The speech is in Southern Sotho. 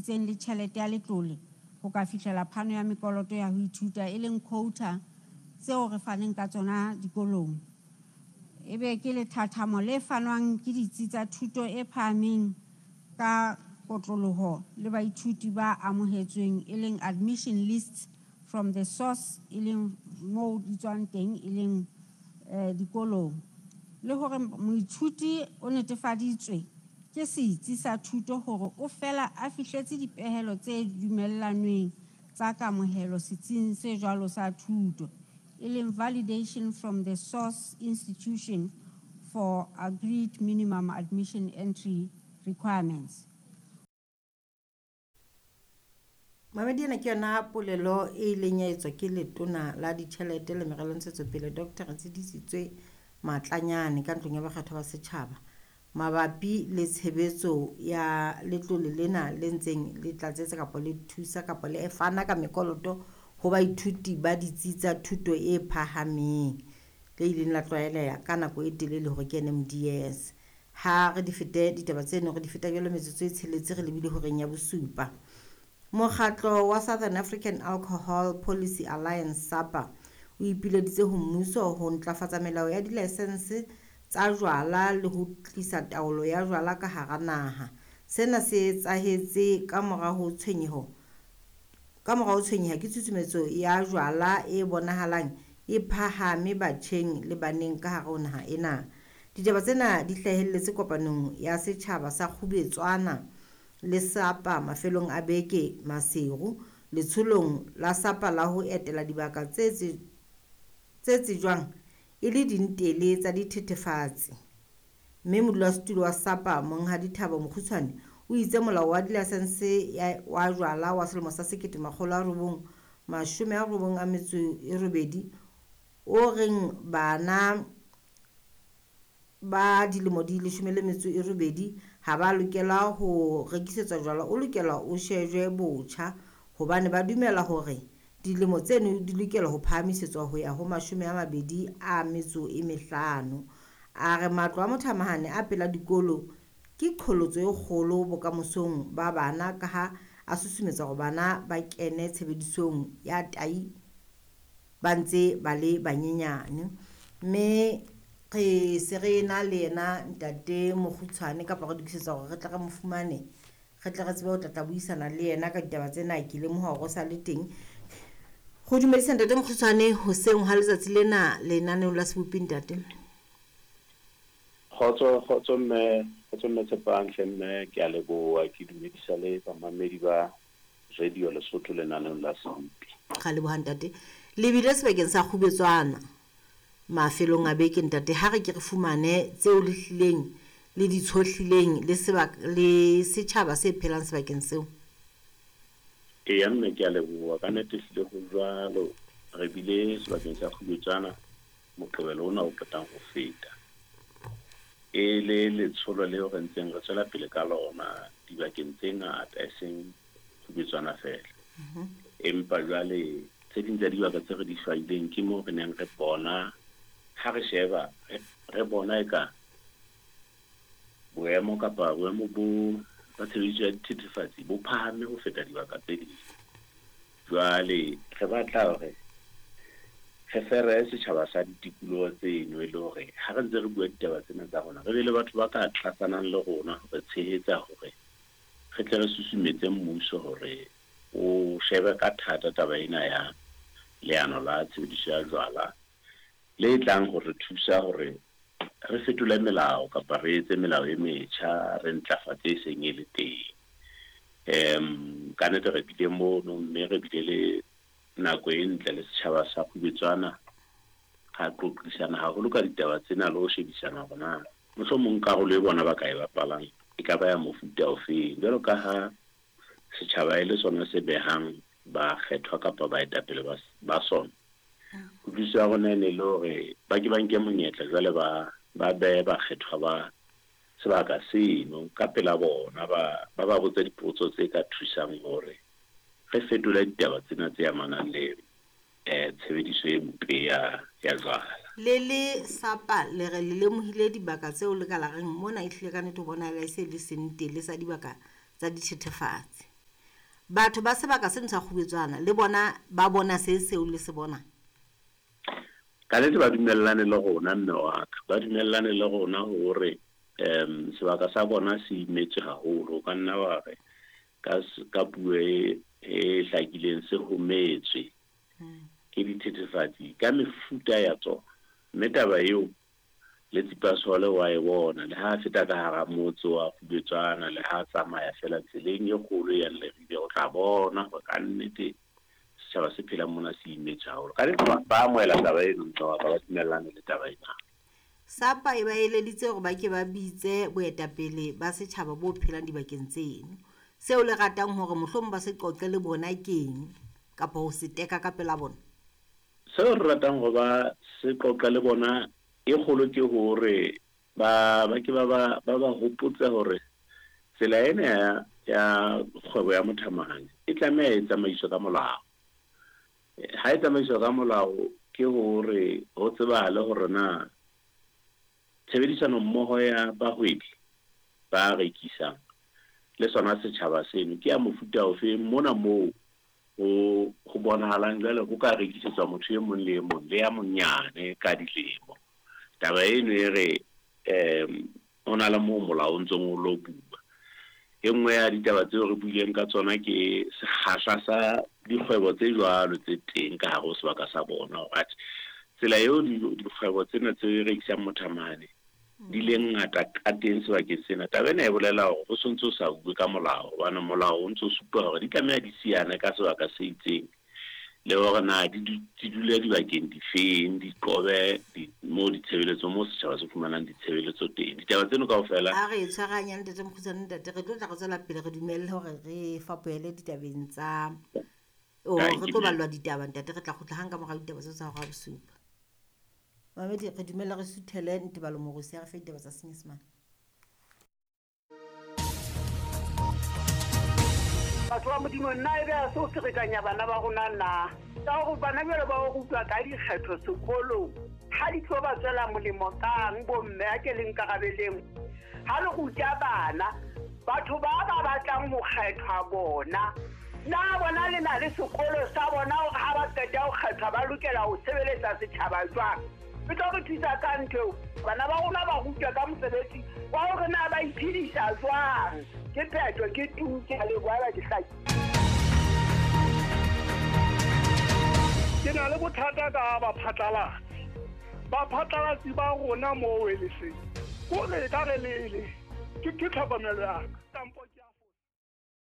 tsitsitseng le tjhelete ya letlole ho ka fihlela phano ya mekoloto ya ho ithuta e leng quota tseo re faneng ka tsona dikolong. Ebe ke lethathamo le fanwang ke ditsi tsa thuto e phahameng ka kotloloho le baithuti ba amohetsweng e leng admission lists from the source e leng moo di tswang teng e leng dikolong. Le hore moithuti o netefaditswe ke setsi sa thuto hore o fela a fihletse dipehelo tse dumellanweng tsa kamohelo setsing se jwalo sa thuto, e leng validation from the source institution for agreed minimum admission entry requirements. Mamedi ena ke yona polelo e ileng ya etswa ke letona la ditjhelete le meralo ntshetsopele Dr. Retshidisitswe Matlanyane ka ntlong ya bakgethwa ba setjhaba mabapi le tshebetso ya letlole lena le ntseng le tlatsetsa kapa le thusa kapa le fana ka mekoloto ho baithuti ba ditsi tsa thuto e phahameng le ileng la tlwaeleha ka nako e telele hore ke NMDS. Ha re di fete ditaba tseno re di feta jwalo metsotso e tsheletse re lebile horeng ya bosupa. Mokgatlo wa Southern African Alcohol Policy Alliance SAPA o ipileditse ho mmuso ho ntlafatsa melao ya dilaesense tsa jwala le ho tlisa taolo ya jwala ka hara naha. Sena se etsahetse ka mora ho tshwenyeho ka mora ho tshwenyeha ke tshusumetso ya jwala e bonahalang e phahame batjheng le baneng ka hare ho naha ena. Ditaba tsena di hlahelletse kopanong ya setjhaba sa Kgubetswana le SAPA mafelong a beke Maseru letsholong la SAPA la ho etela dibaka tse tsejwang e le dintele tsa dithethefatsi. Mme modulasetulo wa SAPA Monghadi Thabo Mokgutshwane o itse molao wa dilaesense wa jwala wa selemo sa 1998 o reng bana ba dilemo di 18 ha ba lokela ho rekisetswa jwala o lokela o shejwe botjha hobane ba dumela hore dilemo tseno di lokela ho phahamisetswa ho ya ho 25. A re matlo a mothamahane a pela dikolo ke qholotso e kgolo bokamosong ba bana ka ha a susumetsa hore bana ba kene tshebedisong ya tai ba ntse ba le banyenyane. Mme re se re na le yena ntate Mokgutshwane kapa re lokisetsa hore re tle re mo fumane re tle re tsebe ho tla buisana le yena ka ditaba tsena. Ke lemoha hore o sa le teng. Go dumedisa ntate Mokgutshwane hoseng ha letsatsi lena lenaneong la Sebopi ntate. Kgotso mme, kgotso mme Tshepang hle mme, ke a leboha, ke dumedisa le bamamedi ba Radio Lesotho lenaneong la Sebopi. Ga leboha ntate. Le bile sebakeng sa Kgubetswana mafelong a beke ntate, ha re ke re fumane tseo le hlileng le di tshohlileng le sebaka le setjhaba se phelang sebakeng seo. Eya mme, ke a leboha, ka nnete hlile ho jwalo. Re bile sebakeng sa Kgubetswana Moqebelo ona o qetang ho feta. E le letsholo leo re ntseng re tswela pele ka lona dibakeng tse ngata e seng Kgubetswana fela. Empa jwale tse ding tsa dibaka tse re di hlwaileng ke moo re neng re bona ha re sheba re bona eka boemo kapa boemo bo ba tshebediso ya dithethefatsi bo phahame ho feta dibaka tse ding. Jwale re batla hore re fere setjhaba sa ditikoloho tseno e le hore ha re ntse re bua ditaba tsena tsa rona re be le batho ba ka tlatsanang le rona hore tshehetsa hore re tle re susumetse mmuso hore o shebe ka thata taba ena ya leano la tshebediso ya jwala le tlang hore thusa hore re fetole melao kapa re etse melao e metjha, re ntlafatse e seng e le teng. Ka nnete re bile mono mme re bile le nako e ntle le setjhaba sa Kgubetswana, ra qoqisana haholo ka ditaba tsena le ho shebisana hore na mohlomong karolo e bona ba ka e bapalang e ka ba ya mofuta ofeng. Jwalo ka ha setjhaba e le sona se behang ba kgethwa kapa baetapele ba sona, kutlwisiso ya rona e ne le hore ba ke ba nke monyetla jwale ba behe bakgethwa ba sebaka seno ka pela bona, ba ba botse dipotso tse ka thusang hore re fetole ditaba tsena tse amanang le tshebediso e mpe ya jwala. Le le SAPA le re le lemohile dibaka tseo le ka la reng mona ehlile ka nnete ho bonahala e se le sentele sa dibaka tsa dithethefatsi. Batho ba sebaka seno sa Kgubetswana le bona ba bona se seo le se bona? Ka nnete ba dumellane le rona mme wa ka, ba dumellane le rona hore sebaka sa bona se imetswe haholo. O ka nna wa re ka puo e hlakileng se hometswe ke dithethefatsi ka mefuta ya tsona. Mme taba eo le Tsipasole wa e bona, le ha feta ka hara motse wa Kgubetswana, le ha tsamaya fela tseleng e kgolo ya Leribe, o tla bona hore ka nnete setjhaba se phelang mona se imetswe haholo. Ka nnete ba amohela taba eno, mme wa ka ba dumellane le taba ena. SAPA e ba eleditse hore ba ke ba bitse boetapele ba setjhaba bo phelang dibakeng tseno. Seo le ratang hore mohlomong ba se qoqe le bona keng, kapa ho se teka ka pela bona? Seo re ratang hore ba se qoqe le bona e kgolo ke hore ba ke ba hopotse hore tsela ena ya kgwebo ya mothamahane e tlameha e tsamaiswe ka molao. Ha e tsamaiswa ka molao ke hore ho tsebahale hore na tshebedisano mmoho ya bahwebi ba rekisang le sona setjhaba seno ke ya mofuta ofe mona moo ho bonahalang jwale ho ka rekisetswa motho e mong le e mong le ya monyane ka dilemo. Taba eno e re ho na le moo molao o ntsong o lo bua. E nngwe ya ditaba tseo re buileng ka tsona ke sekgahla sa dikgwebo tse jwalo tse teng ka hare ho sebaka sa bona, hore tsela eo dikgwebo tsena tse rekisang mothamane di le ngata ka teng sebakeng sena. Taba ena e bolela hore ho sontso o sa bue ka molao, hobane molao o ntso supa hore di tlameha di siyane ka sebaka se itseng, le hore na di dule dibakeng difeng, di qobe moo ditshebeletso, moo setjhaba se fumanang ditshebeletso teng. Ditaba tseno kaofela a re tshwaranya ntate Mokgutshwane, ntate re tlo tla re tswela pele, re dumelle hore re fapohele ditabeng tsa re tlo ballwa ditaba ntate, re tla kgutla hang ka mora ditaba tseo tsa hora bosupa. Mamedi, re dumella re suthele Ntebalo Morusi a re fe ditaba tsa Senyesemane. Batho ba Modimo, nna e be a se o ferekanya bana ba rona na? Ka hore bana jwale ba o rutwa ka dikgetho sekolong, ha di tlo ba tswela molemo kang bomme a ke le nkarabeleng? Ha le ruta bana, batho ba ba batlang ho kgethwa bona, na bona le na le sekolo sa bona hore ha ba qeta ho kgethwa ba lokela ho sebeletsa setjhaba jwang? E tlo re thusa ka ntho eo. Bana ba rona ba rutwa ka mosebetsi wa hore na ba iphedisa jwang. Ke phetho, ke tu, ke a leboha ba ke hlaki. Ke na le bothata ka baphatlalatsi. Baphatlalatsi ba rona moo e le seng. Ko re ka re lele. Ke tlhokomelo ya ka.